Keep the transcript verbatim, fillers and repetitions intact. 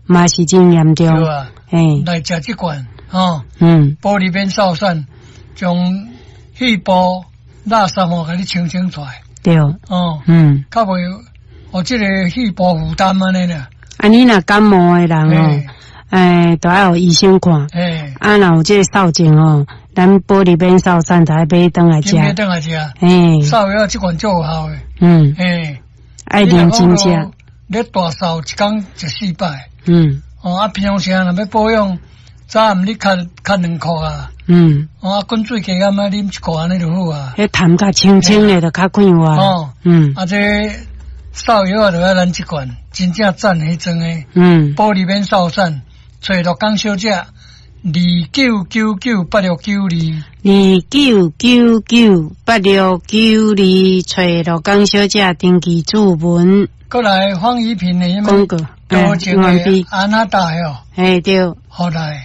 嘛是真嚴重。對啊，嘿，來食這罐，吼，嗯，保利免瘦散，將肺部垃圾吼，共你清清出來，對，哦，嗯，較袂予這個肺部負擔按呢啦。啊，你若感冒的人哦，欸，都愛予醫生看。嘿，啊，若有這個掃症哦，咱保利免瘦散就愛買轉來食。買轉來食。嘿，掃藥這罐足有效的。嗯，嘿，愛認真食。你大掃一工食四擺。嗯。哦，啊，平常時若欲保養，早暗你咳咳兩箍啊。嗯。哦，啊，滾水加減啊，啉一箍按呢就好啊。彼痰較清清的，就較快活。哦。嗯。啊，這掃藥啊，就愛咱這罐，真正讚彼裝的。嗯。保利免瘦散，揣樂江小姐，二九九九八六九二。二九九九八六九二，揣樂江小姐登記注文。過來方怡平的廣告，多情的安娜達哦。嘿對。好來。